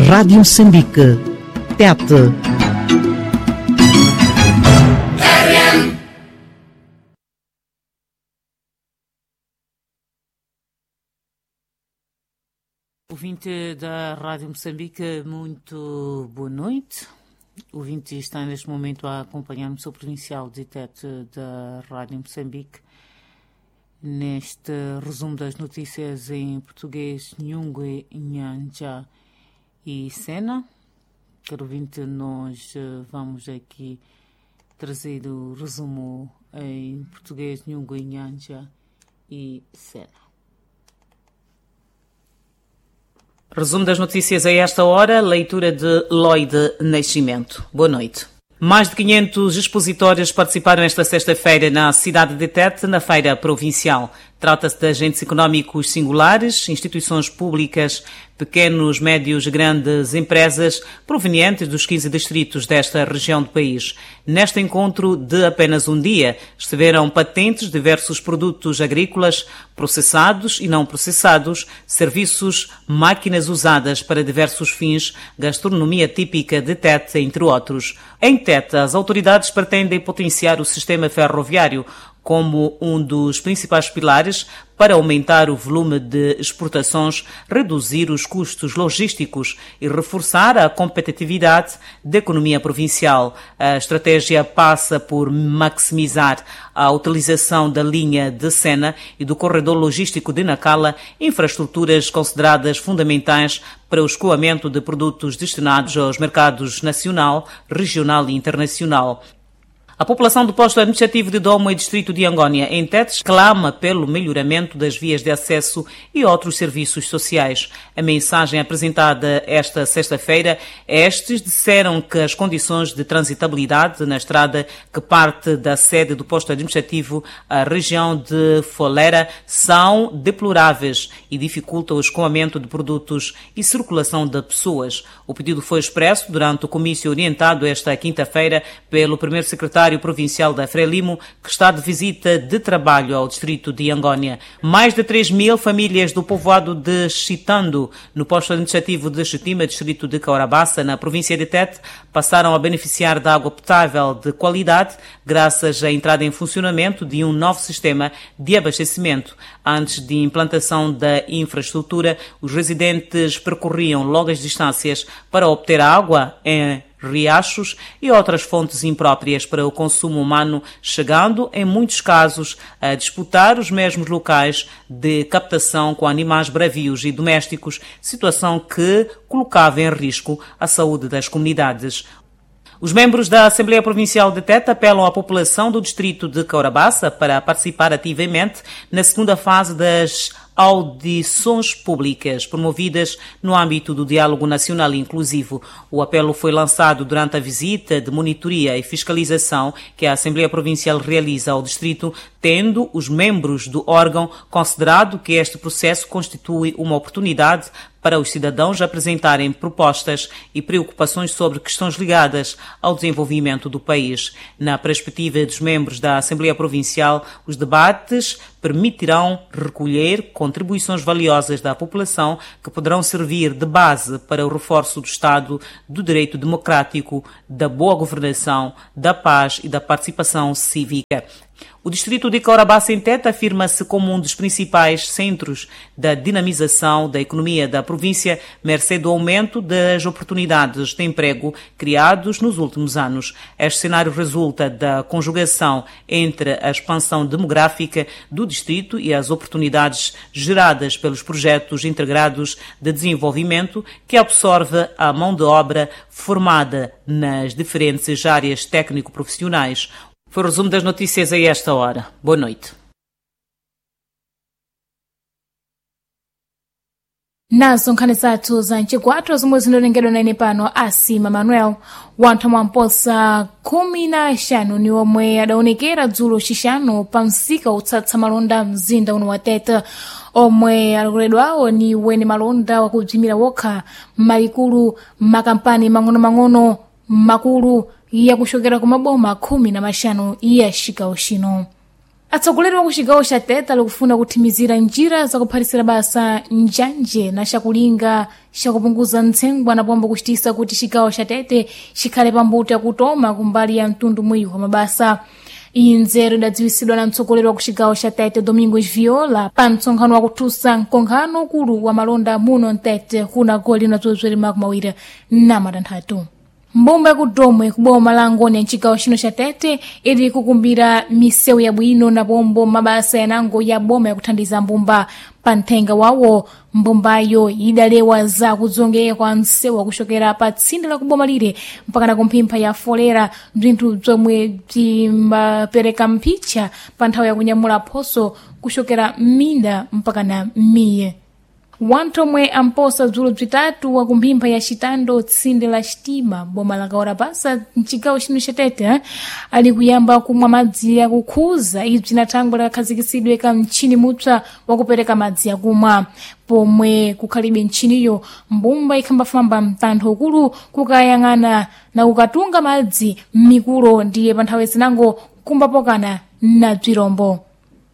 Rádio Moçambique, TET. Ouvinte da Rádio Moçambique, muito boa noite. O ouvinte está neste momento a acompanhar-me o seu provincial de Tete da Rádio Moçambique neste resumo das notícias em português, Nhungue, Nhanja e Sena. Caro ouvinte, nós vamos aqui trazer o resumo em português, Nhungue, Nhanja e Sena. Resumo das notícias a esta hora, leitura de Lloyd Nascimento. Boa noite. Mais de 500 expositores participaram esta sexta-feira na cidade de Tete, na Feira Provincial. Trata-se de agentes económicos singulares, instituições públicas, pequenos, médios e grandes empresas provenientes dos 15 distritos desta região do país. Neste encontro de apenas um dia, estiveram patentes diversos produtos agrícolas processados e não processados, serviços, máquinas usadas para diversos fins, gastronomia típica de Tete, entre outros. Em Tete, as autoridades pretendem potenciar o sistema ferroviário como um dos principais pilares para aumentar o volume de exportações, reduzir os custos logísticos e reforçar a competitividade da economia provincial. A estratégia passa por maximizar a utilização da linha de Sena e do corredor logístico de Nacala, infraestruturas consideradas fundamentais para o escoamento de produtos destinados aos mercados nacional, regional e internacional. A população do posto administrativo de Domo e distrito de Angónia, em Tete, clama pelo melhoramento das vias de acesso e outros serviços sociais. A mensagem apresentada esta sexta-feira, estes disseram que as condições de transitabilidade na estrada que parte da sede do posto administrativo à região de Folera são deploráveis e dificultam o escoamento de produtos e circulação de pessoas. O pedido foi expresso durante o comício orientado esta quinta-feira pelo primeiro secretário provincial da Frelimo, que está de visita de trabalho ao distrito de Angónia. Mais de 3 mil famílias do povoado de Chitando, no posto administrativo de Chitima, distrito de Caurabaça, na província de Tete, passaram a beneficiar da água potável de qualidade, graças à entrada em funcionamento de um novo sistema de abastecimento. Antes de implantação da infraestrutura, os residentes percorriam longas distâncias para obter água em riachos e outras fontes impróprias para o consumo humano, chegando, em muitos casos, a disputar os mesmos locais de captação com animais bravios e domésticos, situação que colocava em risco a saúde das comunidades. Os membros da Assembleia Provincial de Tete apelam à população do distrito de Caurabaça para participar ativamente na segunda fase das audições públicas promovidas no âmbito do Diálogo Nacional Inclusivo. O apelo foi lançado durante a visita de monitoria e fiscalização que a Assembleia Provincial realiza ao distrito, tendo os membros do órgão considerado que este processo constitui uma oportunidade para os cidadãos apresentarem propostas e preocupações sobre questões ligadas ao desenvolvimento do país. Na perspectiva dos membros da Assembleia Provincial, os debates permitirão recolher contribuições valiosas da população que poderão servir de base para o reforço do Estado do direito democrático, da boa governação, da paz e da participação cívica. O distrito de Caurabaça em Tete afirma-se como um dos principais centros da dinamização da economia da província, mercê do aumento das oportunidades de emprego criados nos últimos anos. Este cenário resulta da conjugação entre a expansão demográfica do distrito e as oportunidades geradas pelos projetos integrados de desenvolvimento que absorve a mão de obra formada nas diferentes áreas técnico-profissionais. Foi o resumo das notícias a esta hora. Boa noite. Nazo nkhani zathu za mchigwatho zomwe zinalengedwa nane pano asima Manuel. Wanthu mwamposa 15 ni omwe adaonekera dzulo xixano pa msika utsatsa malonda mzinda uno wa Tete, omwe alokoledwawo ni weni malonda wakubzimira wokha malikulu makampani mang'ono-mang'ono makulu yakuxokera ku maboma 15 ya xigawo xino. Atsogoleri wa kucigawo ca Tete alikufuna kuthimizira njira zakuphatisira basa njanje na cakulinga cakupunguza ntsengwa na pombo kucitisa kuti cigawo ca Tete cikhale pambuto yakutoma kumbali ya mtundu mwiyu wa mabasa. Iyi nzeru idadziwisidwa na mtsogoleri wa kucigawo ca Tete Domingos Viola pa mtsonkhano wakuthusa mkonkhano ukulu wa malonda muno mtete kuna goli na zozweri 26. Mbumba yakudomwe kuboma la Ngoni ya mcigawo chino cha Tete ili kukumbira misewu yabwino na pombo mabasa yanango ya boma yakuthandiza mbumba. Pa nthenga wawo mbumbayo idalewa za kudzongeka kwa msewu wakuchokera pa tsinde la kuboma lire mpaka na kumphimpha ya folera, bzinthu bzomwe bzimbapereka mphicha pa nthawi yakunyamula phoso kuchokera m'minda mpaka na m'miye. Wanthu omwe amposa bzulu bzitatu wa kumphimpha ya Citando tsinde la Xitima boma la Kaorapasa mcigawo chino cha Tete ali kuyamba kumwa madzi akukhuza. Ibzi na thangwe lakhazikisidwe ka mtchini mupsa wakupereka madzi akumwa. Pomwe kukhalibe mtchiniyo, mbumba ikhambafamba mtantho ukulu kukayang'ana na kukatunga madzi m'mikulo, ndiye pa nthawi zinango kumbapokana na bzirombo.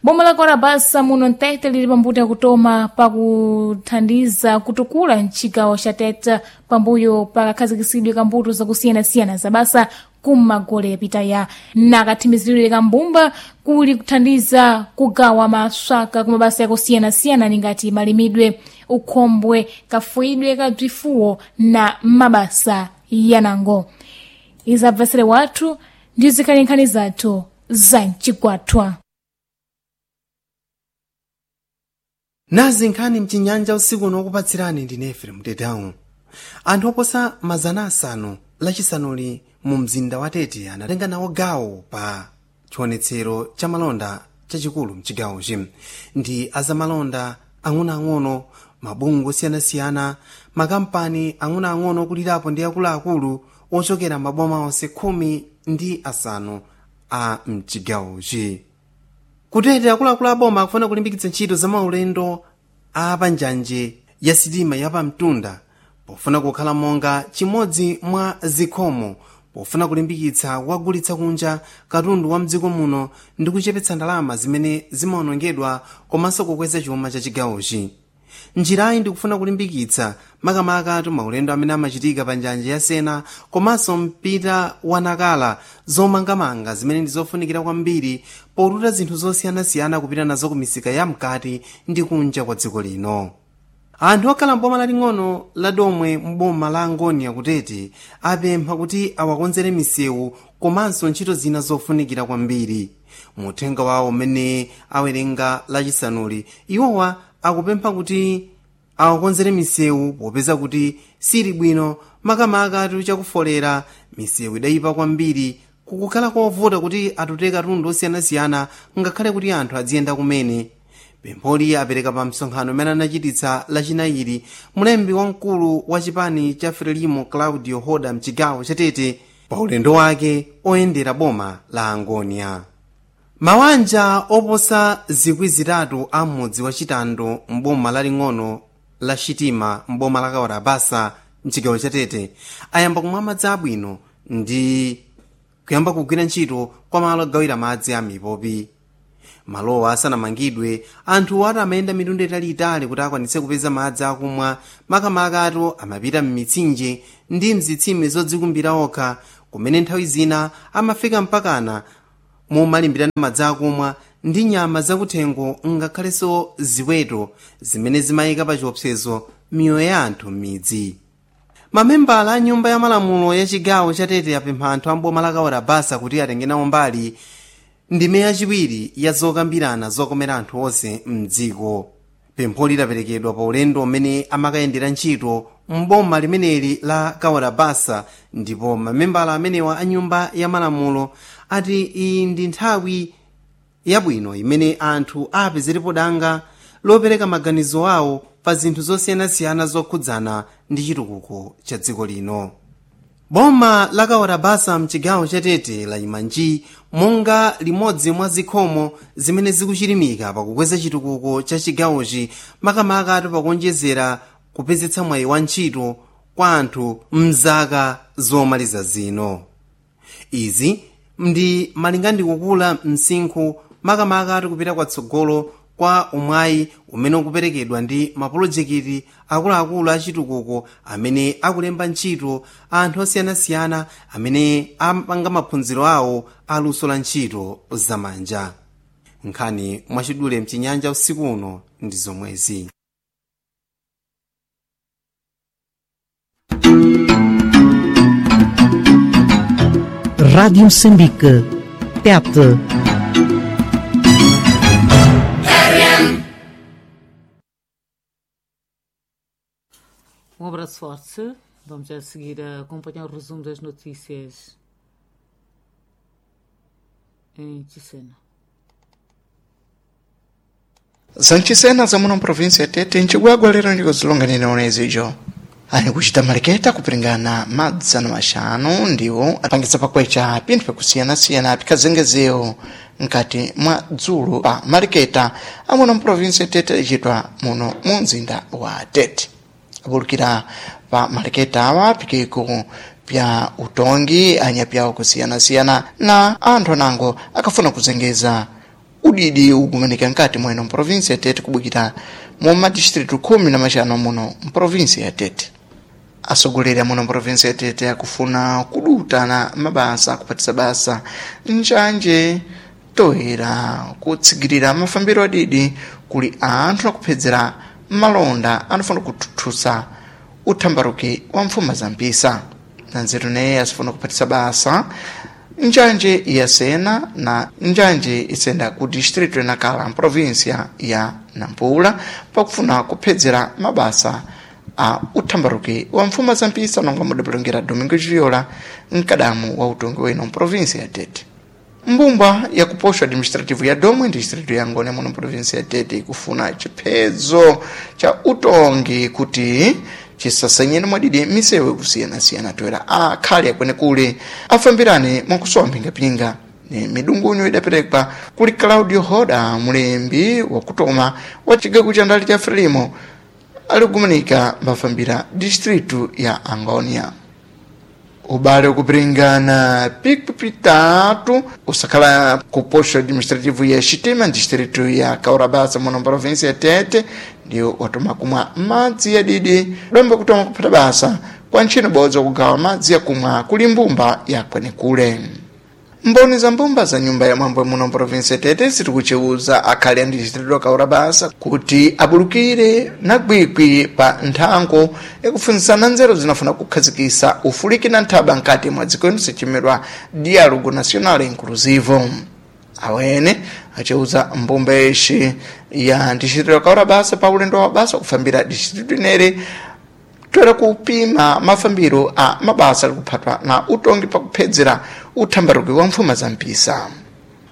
Boma la Korabasa muno mtete lili pambuto yakutoma pakuthandiza kutukula mcigawo ca Tete pambuyo pakakhazikisidwe ka mbuto zakusiyanasiyana za basa kumagole yapitaya nakathimiziridwe ka mbumba kuli kuthandiza kugawa maswaka ku mabasa yakusiyanasiyana ningati malimidwe, ukhombwe, kafuyidwe ka bzifuwo na mabasa yanango. Izabvesere wathu ndi zikhali nkhani zathu za mcigwathwa. Nazi nkhani mchinyanja usiku uno, wokupatsirani ndine Efrem Tedawu. Anthu oposa 500 lachisanuli mu mzinda wa Tete anatenga nawo gawo pa chionetsero cha malonda chachikulu mchigawochi. Ndi azamalonda ang'onoang'ono, mabungwe osiyanasiyana, makampani ang'onoang'ono okulirapo ndi akuluakulu ochokera maboma onse 15 a mchigawochi. Kutete akuluakulu aboma akufuna kulimbikitsa ntchito za maulendo a panjanje ya sitima yapamtunda pofuna kukhala monga chimodzi mwa zikhomo pofuna kulimbikitsa kuwagulitsa kunja katundu wa mdziko muno ndi kuchepetsa ndalama zimene zimawonongedwa komanso kukweza chuma cha chigawochi. Njirayi ndikufuna kulimbikitsa makamaka maulendo amene amachitika pa njanja ya Sena komanso mpita wa Nakala, zomangamanga zimene ndi zofunikira kwambiri potuta zinthu zosiyanasiyana kupita nazo ku misika ya mkati ndi kunja kwa dziko lino. Anthu okhala mboma laling'ono la Domwe mboma la Angonia kutete apempha kuti awakonzere misewu komanso ntchito zina zofunikira kwambiri. Muthenga wawo umene awerenga lachisanuli, iwowa akupempha kuti awakonzere misewu popeza kuti sili bwino, makamaka chakufolera. Misewu idayipa kwambiri, kukukhala kovuta kuti atute katundu osiyanasiyana ngakhale kuti anthu adziyenda kumene. Pempholi apereka pa msonkhano umene anachititsa lachinayiri mlembi wamkulu wa chipani cha Frelimo Claudio Hoda mchigawo cha Tete pa ulendo wake oyendera boma la Angonia. Mawanja oposa 3,000 a mudzi wa Chitando mboma laling'ono la Xitima mboma la Kawarabasa mchigawo cha Tete ayamba kumwa madzi abwino ndi kuyamba kugwira ntchito kwa malo ogawira madzi a mipopi. Malowa asanamangidwe, anthu ati amayenda mitunda italiitali kuti akwanitse kupeza madzi akumwa, makamaka atu amapita m'mitsinje ndi mzitsime zodzikumbira okha, kumene nthawi zina amafika mpakana momalimbirana madzi akumwa ndi nyama zakuthengo ngakhalenso ziweto zimene zimayika pa chiopsezo miyoyo ya anthu m'midzi. Mamembala a nyumba ya malamulo ya chigawo cha Tete apempha anthu a mboma la Kawarabasa kuti atenge nawo mbali ndime yachiwiri ya zokambirana zokomera anthu onse mdziko. Pempho lidaperekedwa pa ulendo umene amakayendera ntchito mboma limeneli la Kawarabasa, ndipo mamembala amenewa a nyumba ya malamulo ati iyi ndi nthawi yabwino imene anthu apezerepo danga lopereka maganizo awo pa zinthu zosiyanasiyana zokhudzana ndi chitukuko cha dziko lino. Boma la Kawarabasa mchigawo cha Tete layima nji monga limodzi mwa zikhomo zimene zikuchilimika pakukweza chitukuko cha chigawochi, makamaka atu pakuonjezera kupezetsa mwayi wa ntchito kwa anthu mzaka zomaliza zino. Izi ndi malinga ndi kukula msinkhu. Makamaka tikupita kwatsogolo kwa umwayi umene ukuperekedwa ndi mapulojekiti akuluakulu achitukuko amene akulemba ntchito anthu osiyanasiyana amene amapanga maphunziro awo aluso la ntchito zamanja. Nkhani mwachidule mchinyanja usiku uno ndi zomwezi. Rádio Moçambique. Tete. Um abraço forte. Vamos a seguir a acompanhar o resumo das notícias em Ticena. Zanchisena za muno mprovinsi ya Tete ncigwagwa lero ndikozilonganira onezijo ani kuchita maliketa kupringana madzana maxanu ndiwo apangisa pakwecha pinthu pakusiyanasiyana pikhazengezewo nkati mwa dzulo pa maliketa amuno mprovinsi ya Tete ichitwa muno mu mzinda wa Tete. Abulukira pa maliketa awa pikiko pya utongi anyapyawo kusiyanasiyana na anthu anango akafuna kuzengeza udidi ukumanika nkati mweno mprovinsi ya Tete kubukira mu madistritu 15 muno mprovinsi ya Tete. Asogoleri amuno mprovinsi ya Tete akufuna kudutana mabasa akupatisa basa njanje toera kutsigirira mafambiro adidi kuli anthu akuphedzera malonda anafuna kuthuthusa uthambaruki wa mfuma za mpisa. Na nzeru neye asifuna kupatisa basa njanje ya Sena na njanje isenda ku distrito ya Nacala mprovinsia ya Nampula pakufuna kuphedzera mabasa a uthambaruki wa mfuma za mpisa nonga mudapulongera Domingo Viola mkadamu wa utongi weno mprovinsia ya Tete. Mbumba ya kuposho administrativo ya Domwe distrito ya Ngone muno provinsia ya Tete ikufuna chiphedzo cha utongi kuti chisasenyeni mwadidi misewu ikusiyanasiyana toera akhali akwenekule afambirane mwakusowa mphingapinga. Ni midungunyo idaperekwa kuli Claudio Hoda mulembi wakutoma wa chigawo cha ndali cha Frelimo alikumanika mbafambira distritu ya Angonia. Ubale ukupiringana piku pitatu usakhala ku posto administrativo ya Xitima distrito ya Kaurabasa muno provinsia ya Tete ndiwo watoma kumwa madzi ya didi domba kutoma kuphata basa kwa ntchito bodza kugawa madzi yakumwa kuli mbumba ya kwenekule. Mboni za mbumba za nyumba ya mwambo muno provinsi ya Tete zitikucheuza akhali a distrito ya Kaurabasa kuti abulukire na gwigwi pa nthango yakufunzisana nzeru zinafuna kukhazikisa ufuliki na nthaba nkati mwa dziko lino sichimidwa Diálogo Nacional Inclusivo. Awene acheuza mbumba yexi ya distrito ya Kaurabasa pa ulendo wa basa kufambira distrito inere toera kupima mafambiro a mabasa alikuphatwa na utongi pakuphedzera uthambaruki wa mfuma za mpisa.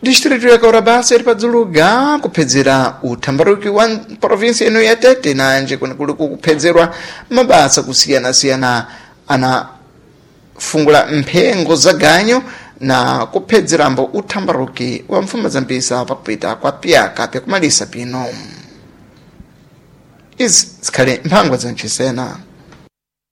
Distrito ya Kaurabasa iri padzuluga kuphedzera uthambaruki wa provinsi ino ya Tete nanje kwenikuli kuphedzerwa mabasa kusiyanasiyana anafungula mphengo za ganyo na kuphedzirambo uthambaruki wa mfuma za mpisa pakupita kwa piyaka pyakumalisa pino. Izi zikhale mphangwa za nchisena.